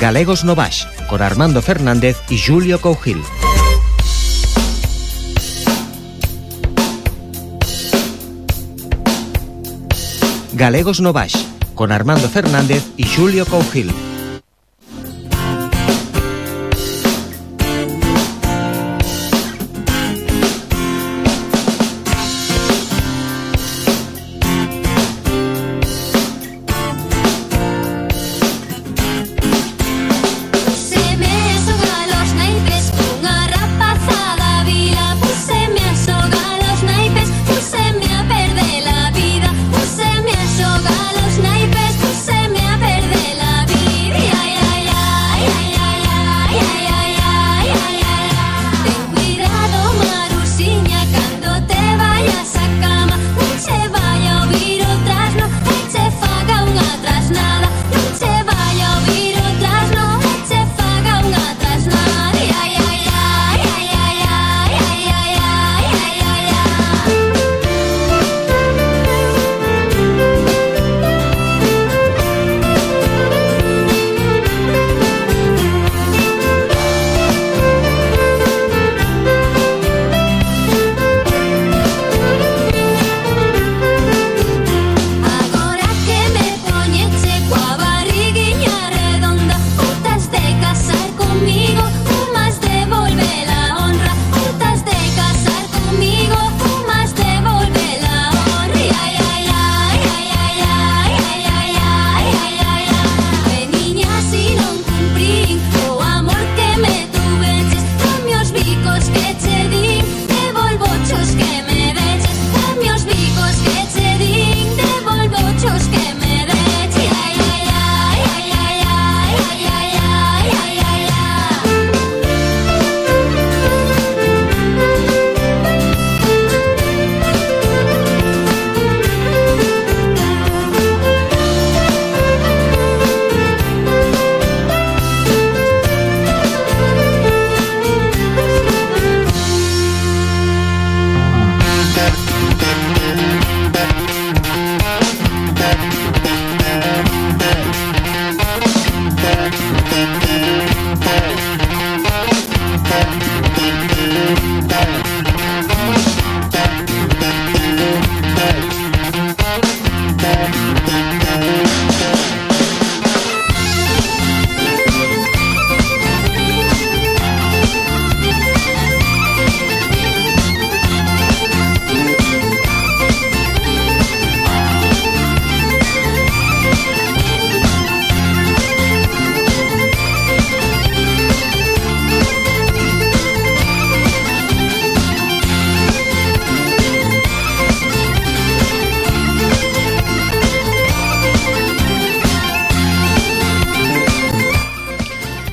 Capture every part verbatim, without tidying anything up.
Galegos no Baix, con Armando Fernández y Julio Cougil. Galegos no Baix, con Armando Fernández y Julio Cougil.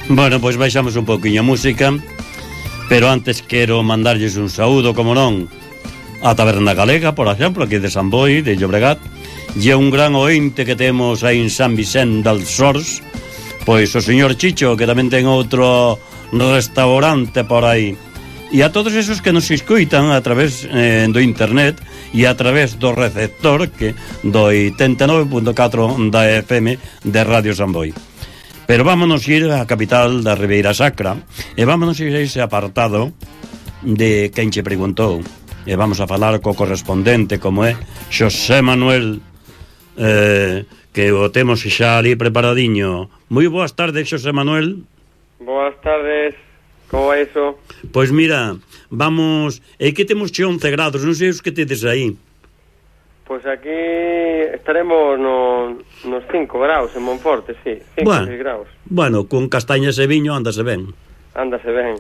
Bueno, pois baixamos un pouquiño a música, pero antes quero mandarlles un saúdo, como non, a Taberna Galega, por exemplo, aquí de San Boi, de Llobregat, e un gran ointe que temos aí en San Vicente dels Sors, pois o señor Chicho, que tamén ten outro restaurante por aí, e a todos esos que nos escuitan a través eh, do internet e a través do receptor que do oitenta e nove punto catro da F M de Radio San Boi. Pero vámonos ir á capital da Ribeira Sacra e vámonos ir a ese apartado de quen che preguntou, e vamos a falar co correspondente, como é Xosé Manuel, eh, que o temos xa ali preparadiño. Moi boas tardes, Xosé Manuel. Boas tardes, como é iso? Pois mira, vamos, é que temos xe once grados, non sei os que tedes aí. Pois aquí estaremos no, nos cinco graus en Monforte, sí, cinco, bueno, seis graus. Bueno, con castañas e viño andase ben. Andase ben.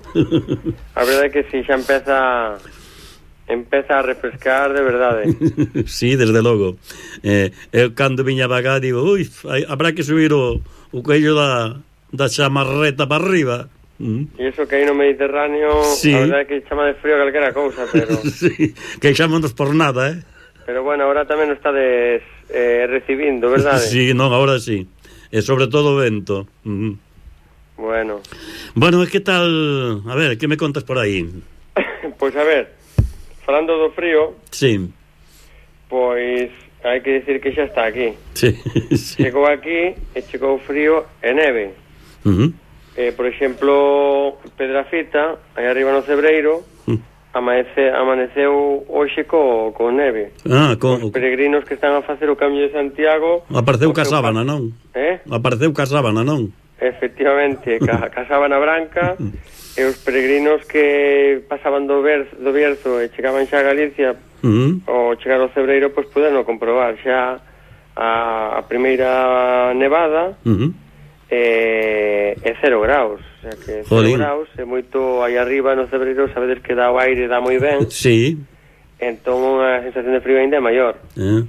A verdade é que si xa empeza empeza a refrescar de verdade. Sí, desde logo. Eh, eu cando viña vaga digo, ui, habrá que subir o, o cuello da, da chamarreta para arriba. Mm. E iso que aí no Mediterráneo, sí. A verdade é que chama de frío calquera cousa, pero... Sí, queixámonos por nada, eh? Pero bueno, ahora tamén o estades eh, recibindo, verdade? Sí, non, ahora sí. E sobre todo o vento. Mm. Bueno. Bueno, e que tal... A ver, que me contas por aí? Pois a ver, falando do frío... Sí. Pois hai que decir que xa está aquí. Sí, sí. Chegou aquí e chegou frío e neve. Uh-huh. Eh, por exemplo, Pedrafita, aí arriba no Cebreiro, uh-huh. amanece, amaneceu hoxe co, co neve. Ah, con... Os peregrinos que están a facer o Camiño de Santiago... Apareceu ca sábana, non? Eh? Apareceu ca sábana, non? Efectivamente, ca, ca sábana branca, e os peregrinos que pasaban do, ver, do Bierzo e chegaban xa a Galicia, uh-huh. ou chegar ao Cebreiro, pois puderon comprobar xa a, a primeira nevada, uh-huh. e, e cero graus. O sea que cero Jolín. graus é moito aí arriba no Cebreiro, sabedes que dá o aire, dá moi ben. Sí. Entón a sensación de frío ainda é maior. Uh-huh.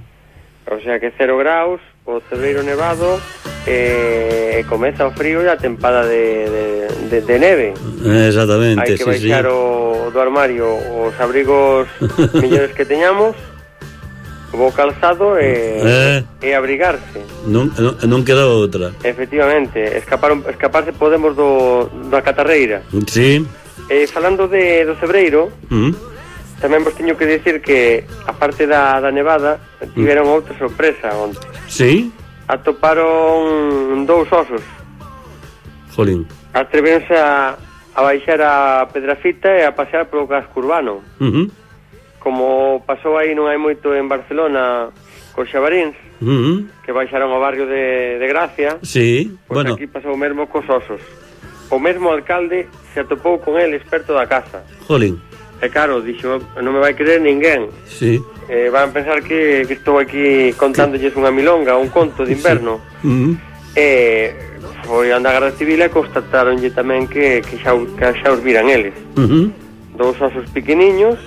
O sea que cero graus, o Cebreiro nevado, e eh, comeza o frío e a tempada de, de, de, de neve. Exactamente, hai que sí, baixar sí. o, do armario os abrigos millores que teñamos, o calzado e, eh. e abrigarse. Non, non, non queda outra. Efectivamente, escapar, escaparse podemos do, da catarreira. Sí. E falando de, do Cebreiro, uh-huh. tamén vos teño que dicir que, aparte da, da nevada, tiveron uh-huh. outra sorpresa onte. Sí? Atoparon dous osos. Jolín. Atreveronse a, a baixar a Pedrafita e a pasear polo casco urbano. Uh-huh. Como pasou aí non hai moito en Barcelona cos xabaríns, uh-huh. que baixaron ao barrio de, de Gracia. Sí, pois bueno. Aquí pasou o mesmo cos osos. O mesmo alcalde se atopou con el experto da casa. Jolín. E claro, dixo, non me vai querer ninguén. Sí. Eh, van pensar que, que estou aquí contándolles unha milonga, un conto de inverno. Sí. Uh-huh. E foi a Garda Civil e constataronlle tamén que, que, xa, que xa os viran eles. Uh-huh. Dous osos pequeniños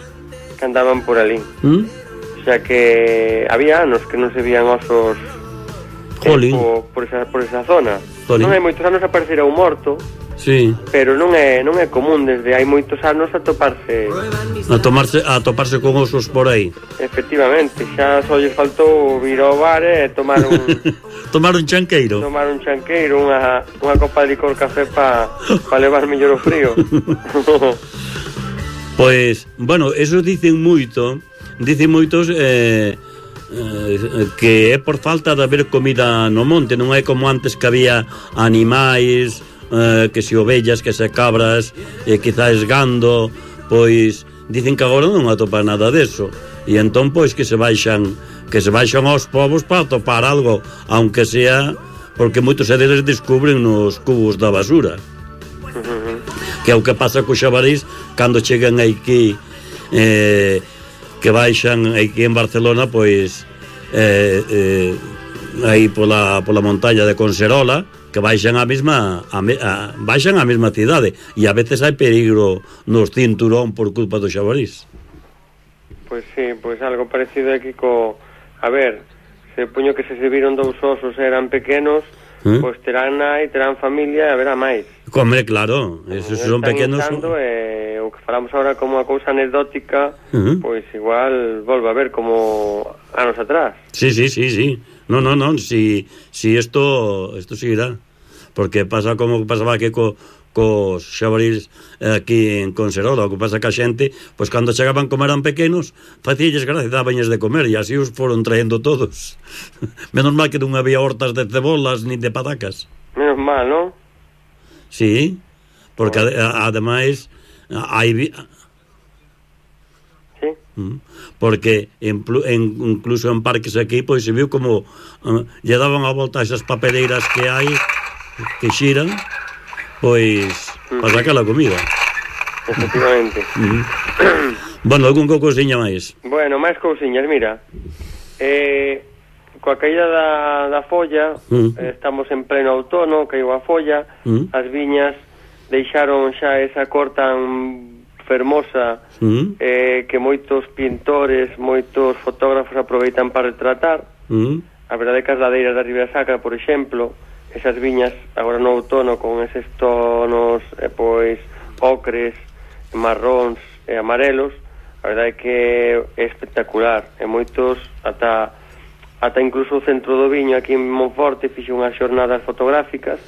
que andaban por ali. Uh-huh. O sea que había anos que non se vían osos eh, por, por, esa, por esa zona. Jolín. Non hai moitos anos aparecerá un morto. Sí. Pero non é non é común desde hai moitos anos a toparse a tomarse a toparse con osos por aí. Efectivamente, xa só lles faltou vir ao bar e tomar un tomar un chanqueiro. Tomar un chanqueiro, unha unha copa de licor café pa pa levar mellor o frío. Pois, bueno, eso dicen moito, dicen moitos eh eh, que é por falta de haber comida no monte, non é como antes que había animais, eh, que se ovellas, que se cabras, e eh, quizás gando, pois dicen que agora non atopa nada deso, e entón pois que se baixan que se baixan aos povos para atopar algo, aunque sea porque moitos deles descubren nos cubos da basura, uh-huh. que é o que pasa co xabarís cando chegan aquí, eh, que baixan aquí en Barcelona, pois eh, eh, aí pola, pola montaña de Conserola, que baixan a mesma a, a, baixan a mesma cidade, e a veces hai peligro nos cinturón por culpa do xabarís. Pois sí, pois algo parecido aquí co, a ver, se puño que se se viron dous osos e eran pequenos, ¿eh? Pois terán nai, terán familia e haberá máis. Come, claro, esos son pequenos. Son... E o que falamos agora como a cousa anecdótica, uh-huh. pois igual volve a ver como anos atrás. Sí, sí, sí, sí. No, no, no, si, si esto esto seguirá, porque pasa como pasaba que co, cos xabarís aquí en Conserola, o que pasa que a xente, pois cando chegaban como eran pequenos, facíalles gracia, dabañes de comer, e así os foron traendo todos. Menos mal que non había hortas de cebolas ni de patacas. Menos mal, non? Sí, porque oh. a, ademais hai... Sí. Porque en, en, incluso en parques aquí pois se viu como uh, lle daban a volta a esas papeleiras que hai que xiran, pois uh-huh. para sacar a comida. Efectivamente. Uh-huh. Bueno, algún cousiña máis? Bueno, máis cousiñas, mira, eh, coa caída da, da folla, uh-huh. eh, estamos en pleno outono, caiu a folla, uh-huh. as viñas deixaron xa esa cor tan fermosa, uh-huh. eh, que moitos pintores, moitos fotógrafos aproveitan para retratar. Uh-huh. A verdade é que as ladeiras da Ribeira Sacra, por exemplo, esas viñas agora no outono con eses tonos eh, pois ocres, marróns e amarelos, a verdade é que é espectacular. E moitos, ata ata incluso o centro do viño aquí en Monforte fixe unhas xornadas fotográficas,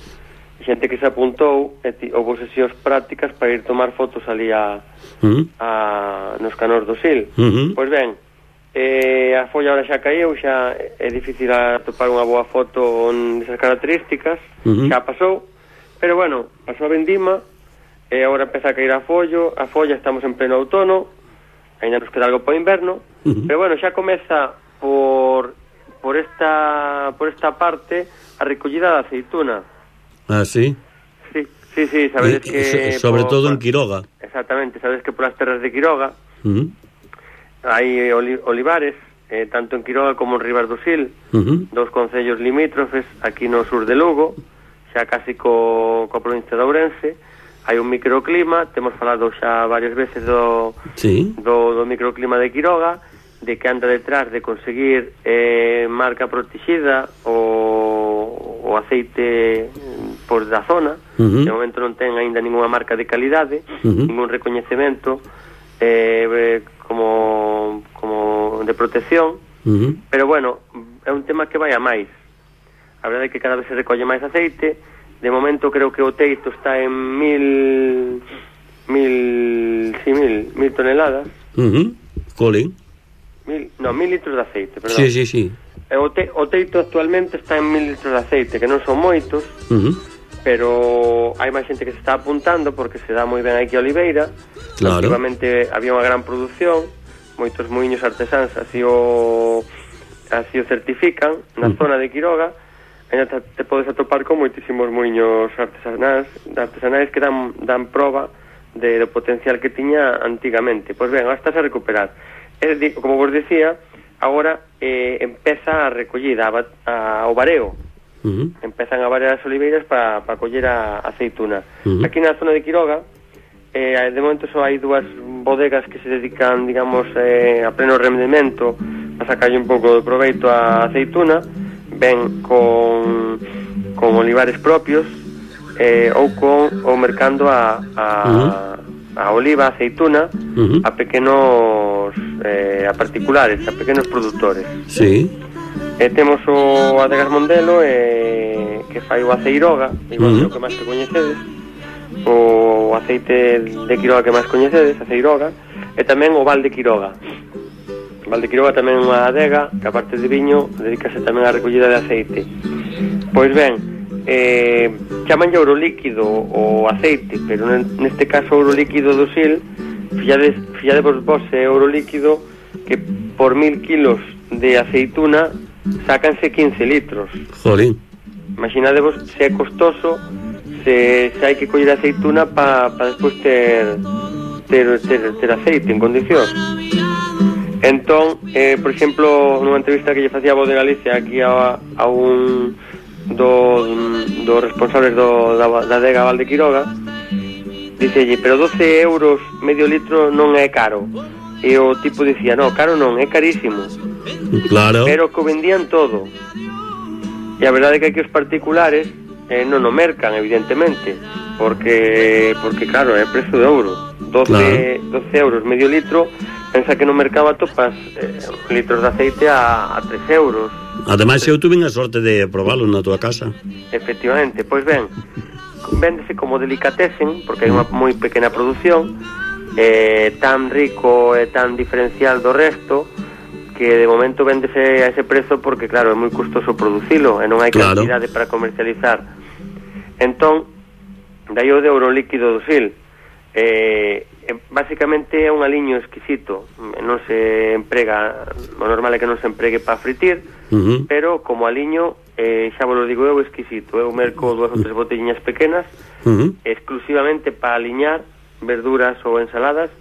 xente que se apuntou e houve sesións prácticas para ir tomar fotos ali a, uh-huh. a nos canós do Sil. Uh-huh. Pois ben, eh, a folla ahora xa caíu, xa é difícil atopar unha boa foto nesas características, uh-huh. xa pasou, Pero bueno, pasou a vendima, e agora empeza a caer a follo, a folla, estamos en pleno outono, ainda nos queda algo para o inverno, uh-huh. Pero bueno, xa comeza por por esta por esta parte a recollida da aceituna. Ah, sí? Sí, sí, sí, sabedes eh, que... So, sobre por, todo por, en Quiroga. Exactamente, sabedes que por as terras de Quiroga uh-huh. hai oli, olivares, eh, tanto en Quiroga como en Ribas do Sil, uh-huh. Dos concellos limítrofes, aquí no sur de Lugo, xa casi co, co provincia de Ourense. Hai un microclima, temos falado xa varias veces do, sí. do, do microclima de Quiroga, de que anda detrás de conseguir eh, marca protexida o, o aceite por da zona. Uh-huh. De momento non ten aínda ninguna marca de calidade, uh-huh. Ningún recoñecemento eh, como, como de protección, uh-huh. Pero bueno, é un tema que vai a máis. A verdade é que cada vez se recolle máis aceite. De momento creo que o teito está en mil mil sí, mil, mil toneladas. Uh-huh. Colin. Mil, no, mil litros de aceite, perdón. Sí, sí, sí. O, te, o teito actualmente está en mil litros de aceite, que non son moitos, uh-huh. Pero hai máis xente que se está apuntando porque se dá moi ben aquí a Oliveira. Claro. Activamente había unha gran produción, moitos muiños artesáns así o así o certifican na uh-huh. zona de Quiroga. Ainda te, te podes atopar con moitísimos muiños artesanais, artesanais que dan, dan prova de, do potencial que tiña antigamente. Pois ben, agora estás a recuperar. É, como vos decía, agora eh, empeza a recollida, a, a, o vareo. Uh-huh. Empezan a varear as oliveiras para pa coller a aceituna. Uh-huh. Aquí na zona de Quiroga, eh, de momento só hai dúas bodegas que se dedican, digamos, eh, a pleno rendemento a sacarlle un pouco de proveito a aceituna. Ben con, con olivares propios eh, ou con ou mercando a, a, uh-huh. a oliva, a aceituna, uh-huh. a pequenos eh, a particulares, a pequenos produtores. Sí. Eh, temos o Adegas Mondelo eh, que fai o aceiroga, igual uh-huh. que máis que coñecedes, o aceite de Quiroga que máis coñecedes, aceiroga, e tamén o Val de Quiroga. Val de Quiroga tamén é unha adega que aparte de viño dedícase tamén á recollida de aceite. Pois ben, eh, chaman ouro líquido o aceite, pero neste caso ouro líquido do Sil, fillades, filladevos vos é ouro líquido que por mil kilos de aceituna sácanse quince litros. Jolín. Imaginadevos se é costoso, se, se hai que coller aceituna para pa despois ter, ter, ter, ter aceite en condicións. Entón, eh, por exemplo, nunha entrevista que lle facía a Voz de Galicia aquí a, a un dos do responsables do, da, da adega Val de Quiroga, dicelle, pero doce euros medio litro non é caro. E o tipo dicía, no, caro non, é carísimo. Claro. Pero que vendían todo. E a verdade é que aquí os particulares eh, non o mercan, evidentemente, porque, porque claro, é prezo de euro. doce, claro. doce euros medio litro. Pensa que no mercado topas eh, litros de aceite a, a tres euros. Ademais, eu tuve a sorte de probalo na tua casa. Efectivamente, pois ben, véndese como delicatesen, porque hai unha moi pequena produción, eh, tan rico e tan diferencial do resto, que de momento véndese a ese prezo porque, claro, é moi custoso producilo e non hai claro. cantidade para comercializar. Entón, dai o de ouro líquido do Sil. Eh, basicamente é un aliño exquisito, non se emprega, o normal é que non se empregue para fritir, uh-huh. pero como aliño, eh, xa vos lo digo eu, exquisito. Eu merco dúas ou tres botelliñas pequenas, uh-huh. exclusivamente para aliñar verduras ou ensaladas,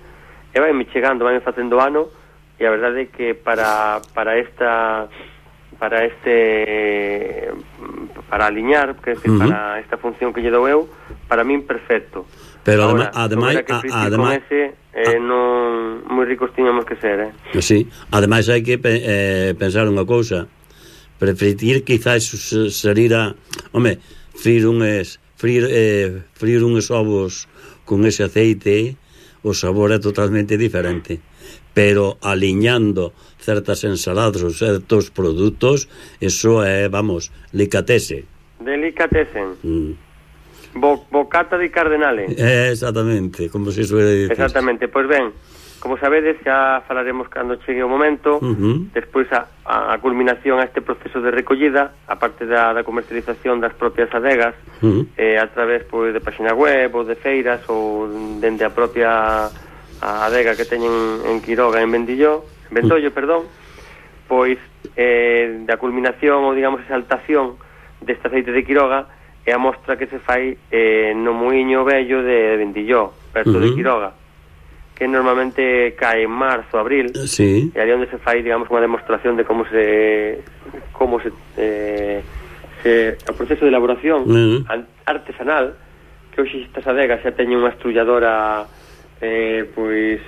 e vai me chegando, vai me facendo ano, e a verdade é que para, para esta para este para aliñar, que é uh-huh. para esta función que lle dou eu, para min perfecto. Pero ahora, ademais, ademais, ese, eh, non moi ricos tiñamos que ser, eh. Sí, ademais hai que eh, pensar unha cousa. Prefritir quizás sería, home, frir unhas frir eh, frir unhos ovos con ese aceite, o sabor é totalmente diferente. Pero aliñando certas ensaladas ou certos produtos, eso é, vamos, delicatese. Delicatesen. Mm. Bo, bocata di cardenale. Eh, exactamente, como se suele decir. Exactamente, pois ben, como sabedes, xa falaremos cando chegue o momento. Uh-huh. Despois a, a culminación a este proceso de recollida, a parte da, da comercialización das propias adegas, uh-huh. eh, a través pois, de página web ou de feiras ou dende a propia a adega que teñen en Quiroga, en Vendillo, en Ventollo, uh-huh. perdón, pois eh, da culminación ou digamos exaltación deste aceite de Quiroga é a mostra que se fai eh, no muiño vello de Vendillo, perto uh-huh. de Quiroga, que normalmente cae en marzo, abril, sí. E ali onde se fai, digamos, unha demostración de como se como se, eh, se o proceso de elaboración uh-huh. artesanal, que hoxe estas adegas xa teñen unha estrulladora eh, pois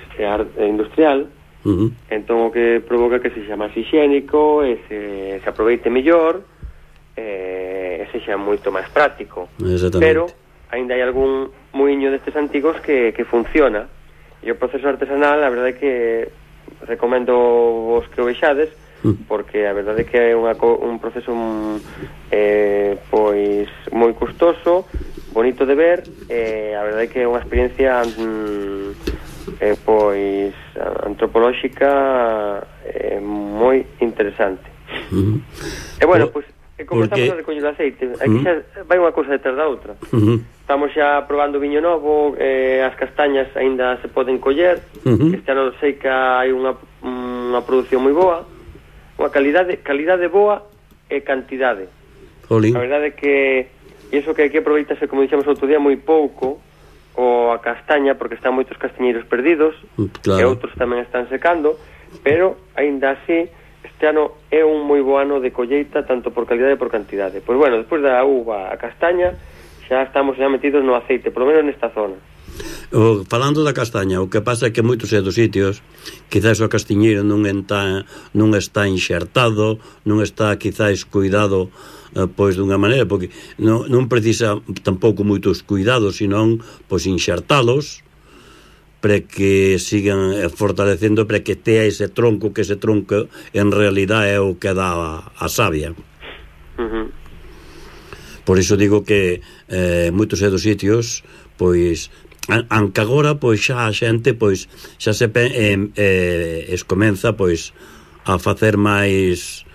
industrial, uh-huh. entón o que provoca que se xa máis higiénico e se, se aproveite mellor, eh, e se xa moito máis práctico. Pero ainda hai algún muiño destes antigos que, que funciona. E o proceso artesanal, a verdade é que recomendo vos que o vexades, porque a verdade é que é unha, un proceso eh, pois moi custoso, bonito de ver, e a verdade é que é unha experiencia mm, eh, pois antropolóxica eh, moi interesante. Uh-huh. E bueno, pois e como porque... estamos a recoñer o aceite, aquí xa vai unha cousa detrás da outra. Uh-huh. Estamos xa probando viño novo, eh, as castañas aínda se poden coller, uh-huh. este ano sei que hai unha, unha produción moi boa, unha calidade, calidade boa e cantidade. Jolín. A verdade é que iso que aquí aproveitase, como dixemos outro día, moi pouco, o a castaña, porque están moitos castañeiros perdidos, claro. E outros tamén están secando, pero aínda así este ano é un moi bo ano de colleita, tanto por calidade e por cantidade. Pois bueno, despois da uva a castaña, xa estamos xa metidos no aceite, por lo menos nesta zona. O, falando da castaña, o que pasa é que moitos é dos sitios quizás o castiñeiro non está, non está enxertado, non está quizás cuidado eh, pois dunha maneira, porque non, non precisa tampouco moitos cuidados, senón pois enxertalos para que sigan fortalecendo, para que tea ese tronco, que ese tronco en realidad é o que dá a, a savia. Uh-huh. Por iso digo que eh, moitos é dos sitios, pois, aunque agora, pois, xa a xente, pois, xa se pe, eh, eh, es comeza, pois, a facer máis,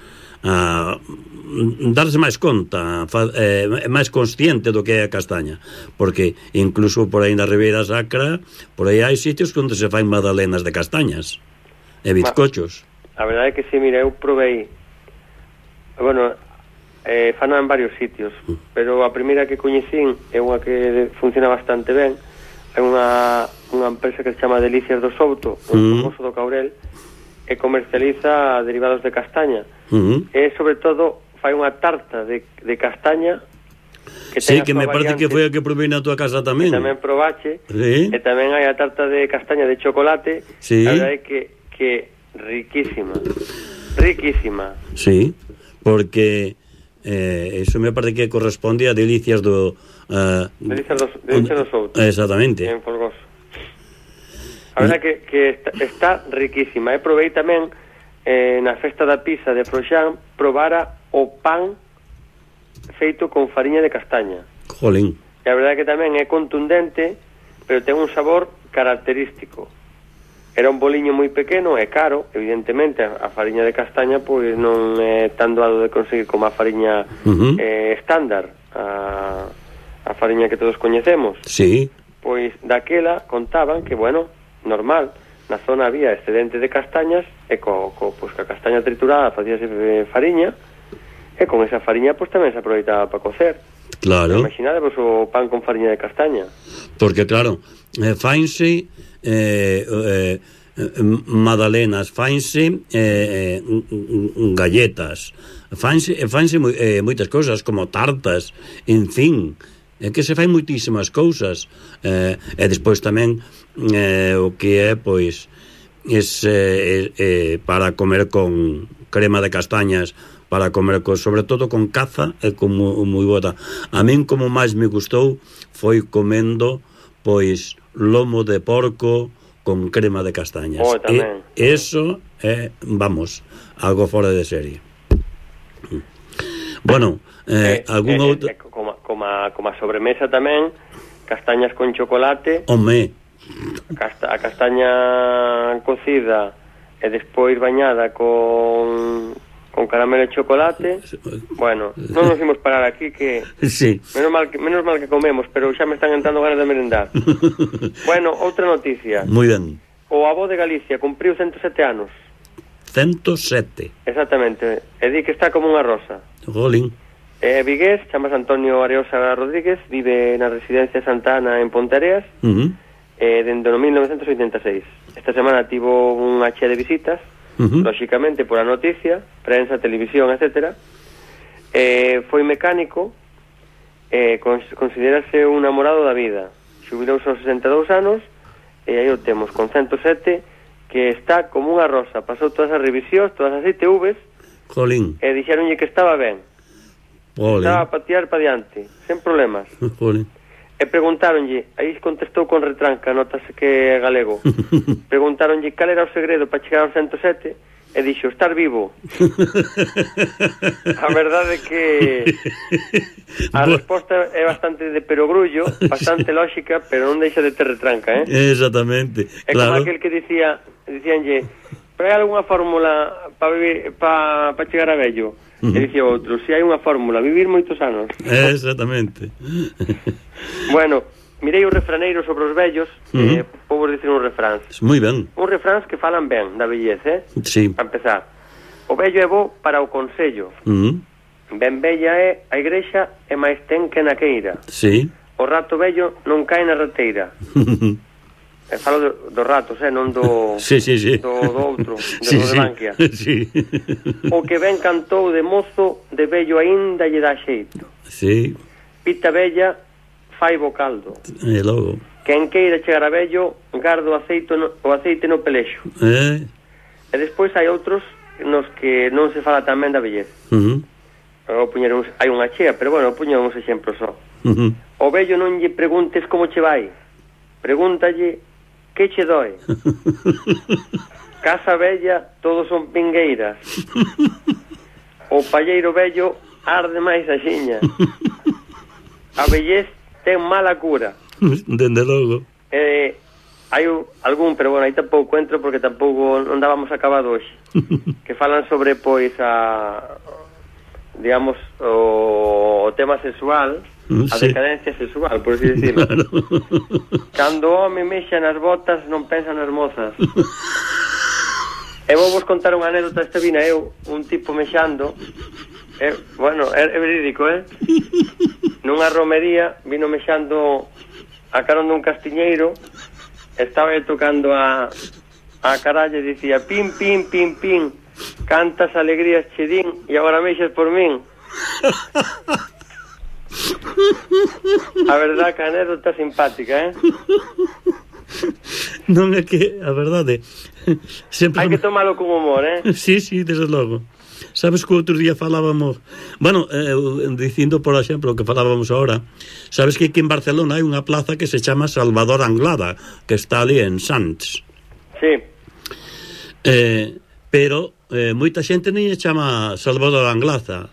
a darse máis conta, fa, eh, máis consciente do que é a castaña, porque incluso por aí na Ribeira Sacra, por aí hai sitios onde se fai magdalenas de castañas e bizcochos. A verdade é que sí, mira, eu provei, bueno, Eh, fana en varios sitios, pero a primeira que coñecín é unha que funciona bastante ben. É unha, unha empresa que se chama Delicias do Souto, un famoso do Caurel, e comercializa derivados de castaña. Uh-huh. E sobre todo fai unha tarta de, de castaña que sí, que me parece que foi a que provei na tua casa tamén. Tamén probache, sí. E tamén hai a tarta de castaña de chocolate, sí. A verdade é que, que riquísima, riquísima. Sí, porque Eh, eso me parece que corresponde a Delicias do uh, Delicias do, Delicias do Souto, exactamente, en Folgoso. A verdade que, que está, está riquísima. E provei tamén eh, na festa da pizza de Froxán, probara o pan feito con fariña de castaña. Jolín. E a verdade que tamén é contundente, pero ten un sabor característico. Era un boliño moi pequeno e caro, evidentemente a fariña de castaña pois non é tan doado de conseguir como a fariña uh-huh. eh, estándar, a, a fariña que todos coñecemos. Sí. Pois daquela contaban que, bueno, normal, na zona había excedente de castañas e co, co, pois, que a castaña triturada facíase fariña e con esa fariña pois tamén se aproveitaba para cocer. Claro. Imaginadevos o pan con fariña de castaña. Porque claro, eh, fainse Eh, eh, magdalenas, fainse eh, galletas, fainse, fainse eh, moitas cousas como tartas, en fin, é que se fai moitísimas cousas, eh, e despois tamén eh, o que é pois es, eh, eh, para comer con crema de castañas, para comer con, sobre todo con caza, é como moi boa. A min como máis me gustou foi comendo pois lomo de porco con crema de castañas. Oh, tamén. E eso é, vamos, algo fora de serie. Bueno, eh, eh, algún eh, outro... Eh, como, como, como a sobremesa tamén, castañas con chocolate. Home, Casta, a castaña cocida e despois bañada con con caramelo e chocolate. Bueno, non nos imos parar aquí, que sí. menos mal que menos mal que comemos, pero xa me están entrando ganas de merendar. Bueno, outra noticia. Moi ben. O avó de Galicia cumpriu ciento sete anos. ciento sete. Exactamente. E di que está como unha rosa. Jolín. É vigués, chamas Antonio Areosa Rodríguez, vive na residencia Santa Ana en Ponteareas, Uh-huh. eh, dende no mil novecentos oitenta e seis. Esta semana tivo unha chea de visitas, Uh-huh. lóxicamente por a noticia, prensa, televisión, etcétera. Eh, foi mecánico, eh, cons- considerase un namorado da vida. Xubilouse aos sesenta e dous anos, e aí o temos con ciento sete, que está como unha rosa. Pasou todas as revisións, todas as I T Vs, Jolín. e dixeronlle que estaba ben. Jolín. Estaba para tirar para diante, sen problemas. Jolín. E preguntáronlle, aí contestou con retranca, notase que é galego. Preguntáronlle cal era o segredo para chegar aos ciento sete, e dixo, estar vivo. A verdade é que a resposta é bastante de perogrullo, bastante lógica, pero non deixa de ter retranca, eh? Exactamente. É como Claro. aquel que dicía, dicíanlle, pero hai algunha fórmula para vivir, para pa chegar a vello? Uh-huh. E dicía outro, si hai unha fórmula, vivir moitos anos. Exactamente. Bueno, mirei o refraneiro sobre os vellos, uh-huh. eh, vou dicir un refráns. Moi ben. Un refráns que falan ben da vellez, eh? Sí. Para empezar, o vello é bo para o consello. Uh-huh. Ben bella é a igrexa e máis ten que na queira. Sí. O rato vello non cae na rateira. E falo do, dos ratos, eh, non do Sí, sí, sí. do, do outro, do, Sí, do de sí. Bankia. Sí. O que ben cantou de mozo, de vello aínda lle dá xeito. Sí. Pita bella, fai bo caldo. E logo. Quen queira chegar a vello, gardo o aceite no, o aceite no pelexo. Eh? E despois hai outros nos que non se fala tamén da vellez. Uh-huh. O puñer uns, hai unha chea, pero bueno, puñer uns exemplos só. Uh-huh. O vello non lle preguntes como che vai. Pregúntalle que che doe. Casa vella, todos son pingueiras. O palleiro vello arde máis a xiña. A vellez ten mala cura. Dende logo. Eh, hai un, algún, pero bueno, aí tampouco entro porque tampouco non dábamos acabado hoxe. Que falan sobre, pois, a digamos, o, o tema sexual, a Sí. decadencia sexual, por así decirlo. Claro. Cando o home mexa nas botas, non pensa nas mozas. E vou vos contar unha anécdota. Esta vina eu, un tipo mexando, eh, bueno, é, é verídico, eh? Nunha romería, vino mexando a carón dun castiñeiro, estaba tocando a a caralla e dicía, pim, pim, pim, pim, cantas alegrías che din e agora mexas por min. A verdade que a anécdota simpática, eh? Non é que, a verdade, sempre... Hai que tomalo con humor, eh? Sí, sí, desde logo. Sabes que outro día falábamos... Bueno, eh, dicindo, por exemplo, o que falábamos ahora, sabes que aquí en Barcelona hai unha plaza que se chama Salvador Anglada, que está ali en Sants. Sí. Eh, pero eh, moita xente non lle chama Salvador Anglada.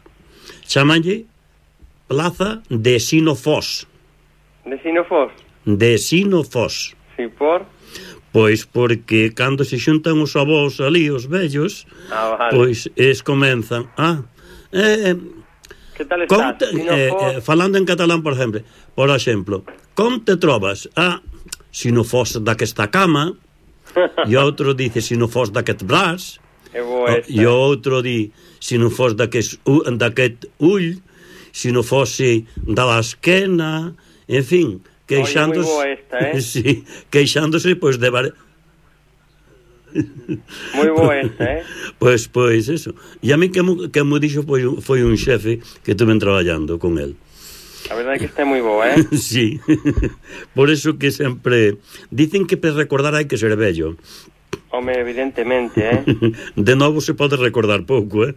Chamanlle Plaza de Sinofós. De Sinofós? De Sinofós. Sí, por? Pois porque cando se xuntan os avós ali, os vellos, ah, vale. pois es comenzan a... Eh, que tal estás? estás? Eh, eh, falando en catalán, por exemplo, por exemplo, com te trobas? Ah, si no fos d'aquesta cama, e outro dice si no fos d'aquest braç, e outro di si no fos d'aquest ull, si no fose da l'esquena, en fin, queixándose... Oye, moi boa esta, eh? Sí, queixándose, pois, de... Bar... Moi boa esta, eh? Pois, pois, eso. E a mí que mo, que mo dixo foi, foi un xefe que estuve traballando con el. A verdade é que está moi boa, eh? Sí. Por eso que sempre... Dicen que para recordar hai que ser vello. Home, evidentemente, eh? De novo se pode recordar pouco, eh?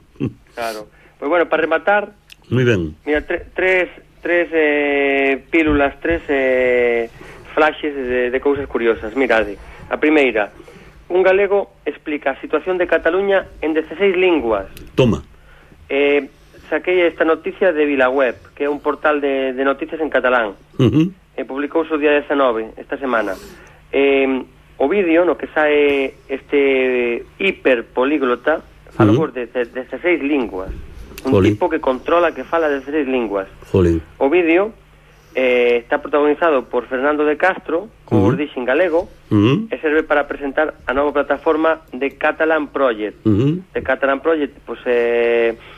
Claro. Pois bueno, para rematar... Moi ben. Mira, tre, tres, tres eh, pílulas, tres eh, flashes de, de cousas curiosas. Mirade, a primeira, un galego explica a situación de Cataluña en dezasseis linguas. Toma. Eh, saquei esta noticia de VilaWeb, que é un portal de, de noticias en catalán. Uh-huh. Eh, publicouse o día dezanove, esta semana. eh, o vídeo no que sae este hiperpolíglota fala uh-huh. de, de, de dezasseis linguas, un Jolín. tipo que controla, que fala de dezasseis linguas. Jolín. O vídeo eh, está protagonizado por Fernando de Castro, como uh-huh. vos dixen, galego, uh-huh. e serve para presentar a nova plataforma de Catalan Project. Uh-huh. De Catalan Project, pois é... Eh,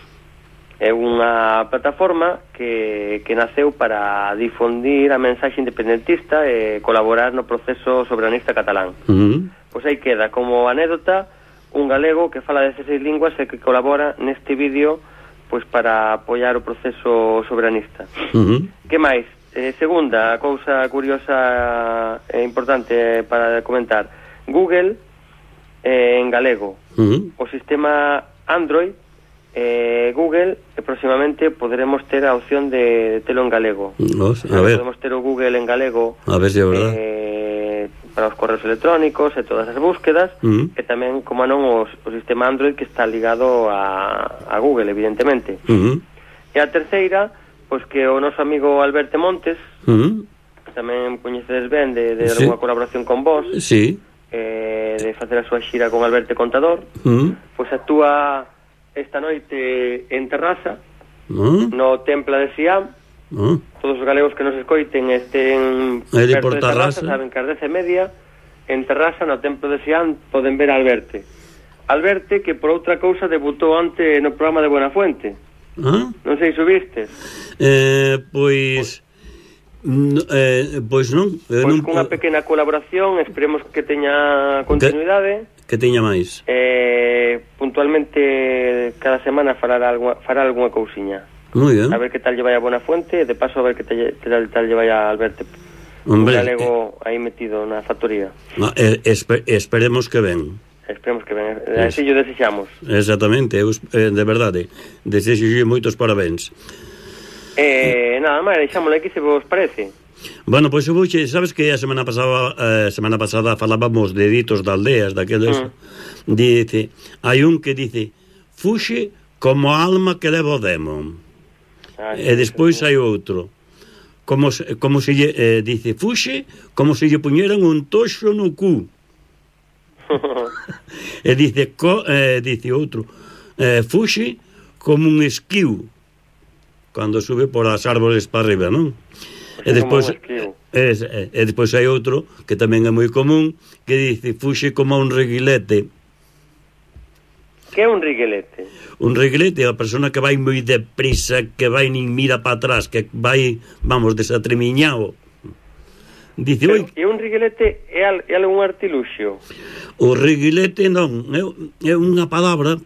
é unha plataforma que, que naceu para difundir a mensaxe independentista e colaborar no proceso soberanista catalán. Uh-huh. Pois aí queda, como anécdota, un galego que fala dezasseis linguas e que colabora neste vídeo pois para apoiar o proceso soberanista. Uh-huh. Que máis? Eh, segunda cousa curiosa e importante para comentar. Google eh, en galego. Uh-huh. O sistema Android Eh, Google, e próximamente poderemos ter a opción de, de telo en galego. Nos, a ver. Podemos ter o Google en galego, a ver se é verdad, eh, para os correos electrónicos e todas as búsquedas, uh-huh. e tamén, como non, os, o sistema Android que está ligado a, a Google, evidentemente. Uh-huh. E a terceira, pois que o noso amigo Alberto Montes, uh-huh. que tamén coñecedes ben de, de sí. alguna colaboración con vos, sí. eh, de facer a súa xira con Alberto Contador, uh-huh. pois actúa esta noite en Terrasa, ¿no? No Templa de Siam, ¿no? Todos os galegos que nos escoiten estén perto de Terrasa, saben que ás dez e media en Terrasa, no Templo de Siam, poden ver a Alberte. Alberte, que por outra cousa debutou ante no programa de Buenafuente. ¿Ah? Non sei se vistes. Eh, pois... No, eh, pois non. Pois non, cunha pequena colaboración, esperemos que teña continuidade. Que, que teña máis. Eh, puntualmente cada semana fará algunha, fará algunha cousiña. Muy bien. A ver que tal lle vai a Buenafuente, e de paso a ver que tal, tal, tal lle vai a Alberto. Hombre, un galego eh, aí metido na factoría. No, eh, esper, esperemos que ven. Esperemos que ven. Así yo desexamos. Exactamente, eu, eh, de verdade. Desexo moitos parabéns. Eh, nada máis, deixámoslo aquí se vos parece. Bueno, pois pues, Buche, sabes que a semana pasada eh, semana pasada falábamos de ditos de aldeas, daqueles. Mm. Dice, hai un que dice, fuxe como a alma que leva o demo. Ah, e despois hai outro. Como se, como se lle, eh, dice, fuxe como se lle puñeran un toxo no cu. E dice, co, eh, dice outro, eh, fuxe como un esquiu cando sube por as árboles para arriba, non? E despois e, e despois hai outro que tamén é moi común que dice, fuxe como un reguilete. Que é un reguilete? Un reguilete é a persona que vai moi deprisa, que vai nin mira para atrás, que vai, vamos, desatremiñado. Dice, pero, e un reguilete é, al, é algún artiluxio? O reguilete non, é, é unha palabra.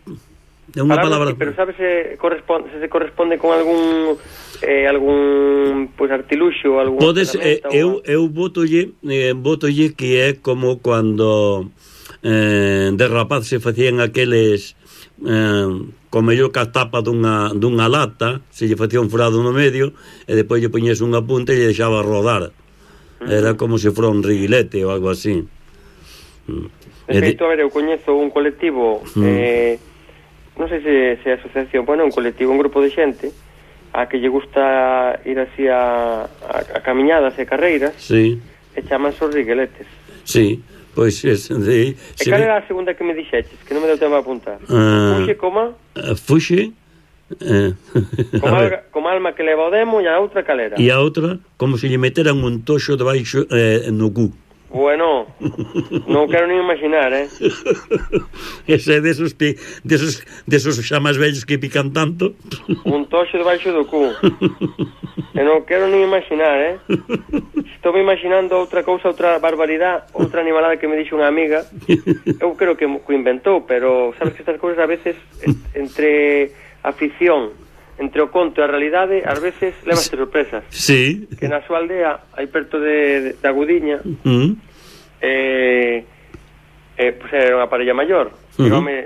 É unha palabra, palabra... pero sabes se corresponde, se, se corresponde con algún eh, algún pois pues, artiluxo, algún podes, eh, eu, eu votolle eh, votolle que é como cando eh, de rapaz se facían aqueles eh, como yo que a tapa dunha, dunha lata, se lle facía un furado no medio e depois lle poñes unha punta e lle deixaba rodar. Uh-huh. Era como se fora un reguilete ou algo así. De feito, a ver, eu coñezo un colectivo uh-huh. eh, non sei se, se asociación, bueno, un colectivo, un grupo de xente a que lle gusta ir así a, a, a camiñadas e carreiras, sí. E chamanse os reguiletes. Sí, pois es de, e cal era a segunda que me dixeches, que non me deu tempo a apuntar? Uh, fuxe coma? Uh, fuxe uh, como, alga, como alma que leva o demo, e a outra calera. E a outra, como se lle meteran un toxo debaixo eh, no cu. Bueno, non quero nin imaginar, eh? Ese desos, desos, desos xa máis vellos que pican tanto. Un toxo debaixo do cu. E non quero nin imaginar, eh? Estou me imaginando outra cousa, outra barbaridade, outra animalada que me dixo unha amiga. Eu creo que o inventou, pero sabes que estas cousas a veces entre a ficción, entre o conto e a realidade, ás veces levaste sorpresas. Sí. Que na súa aldea, aí perto de, de, de Agudiña, uh-huh. eh, eh, pues era unha parella maior. Uh-huh. E o home,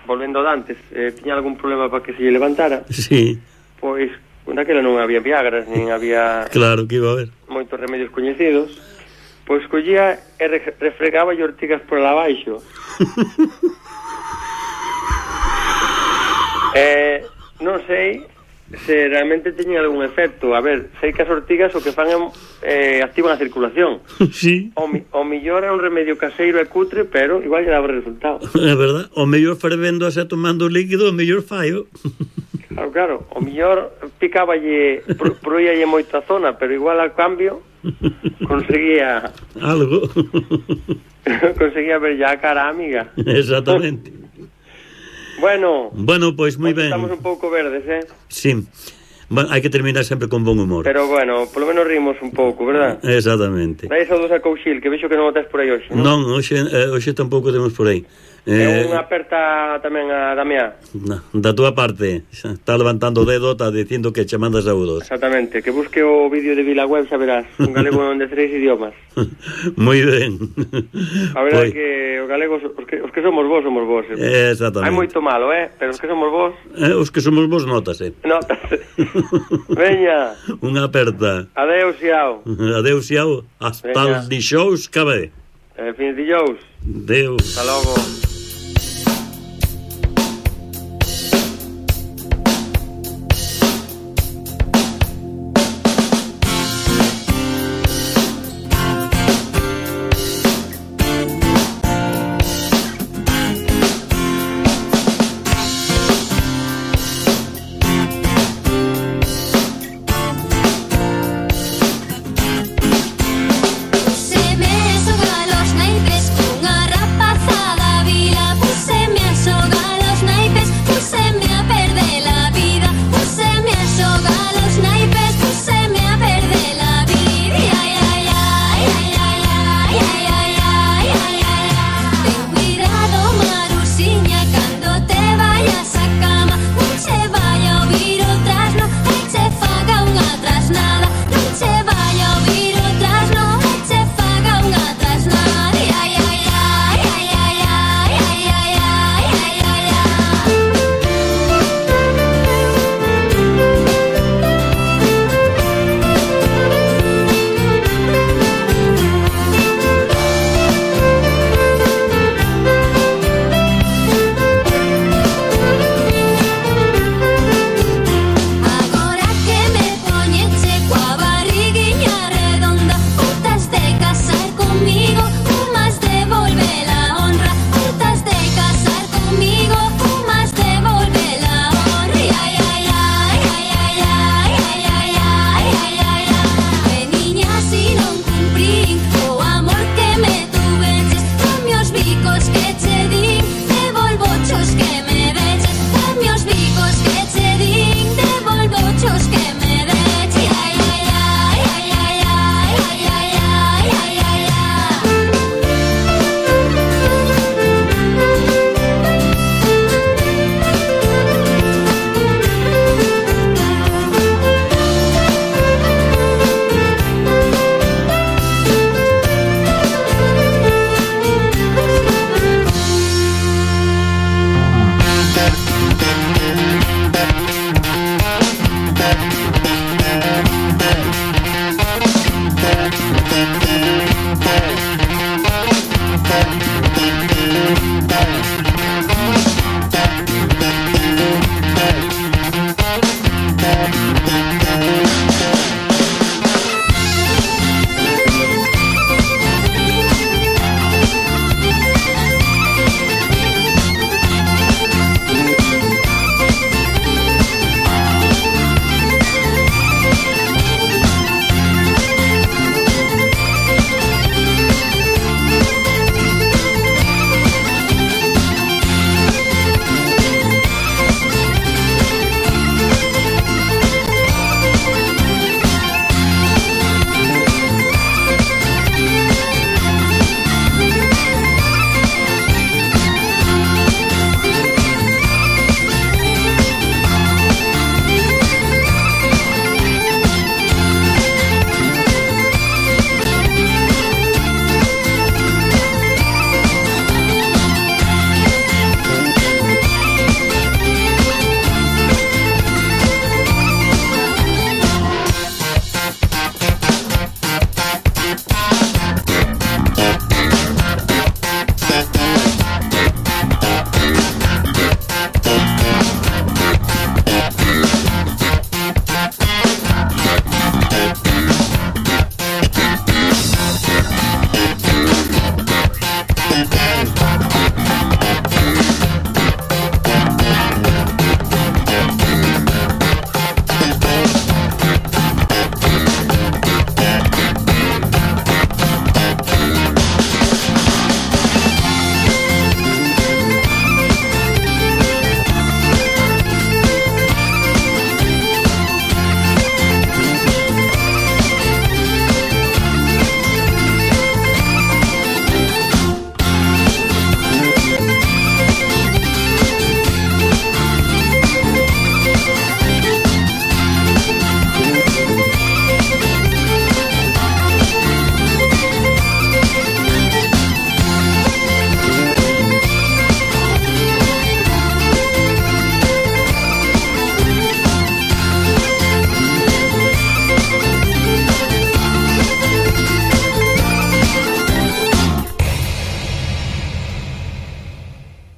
volvendo de antes, eh, tiña algún problema para que se lle levantara. Sí. Pois, naquela non había viagras, nin había... Claro que iba a haber. Moitos remedios coñecidos. Pois collía e re, refregaba e ortigas por lá abaixo. eh, non sei... se realmente teñen algún efecto. A ver, sei que as ortigas o que fan é eh, activan a circulación. Sí. O, mi, o millor é un remedio caseiro e cutre, pero igual lle daba resultado. É verdad, o mellor fervendo e tomando líquido, o mellor fallo. Claro, claro, o millor picáballe, proíalle moita zona, pero igual al cambio conseguía algo. Conseguía ver ya a cara amiga. Exactamente. Bueno, bueno, pois pues, moi ben. Estamos un pouco verdes, eh? Sí. Bueno, hai que terminar sempre con bon humor. Pero bueno, polo menos rimos un pouco, verdad? Exactamente. Dai saúdos a Couchil, que vexo que non o tes por aí hoxe, non? Non, hoxe, eh, hoxe tampouco temos por aí. Eh, unha aperta tamén a Damián. Na, da túa parte, está levantando o dedo, está dicindo que che manda saúdos. Exactamente, que busque o vídeo de Vilaweb, xa verás, un galego en dezasseis idiomas. Moi ben. A verdade pues... que os galegos, os que, os que somos vos, somos vos. Eh. Exactamente. Hai moito malo, eh, pero os que somos vos... Eh, os que somos vos, notase. Notase. Veña. Unha aperta. Adeus, xiao. Adeus, xiao. Hasta os dixous, cabe. Eh, fins dijous. Deus. Hasta logo.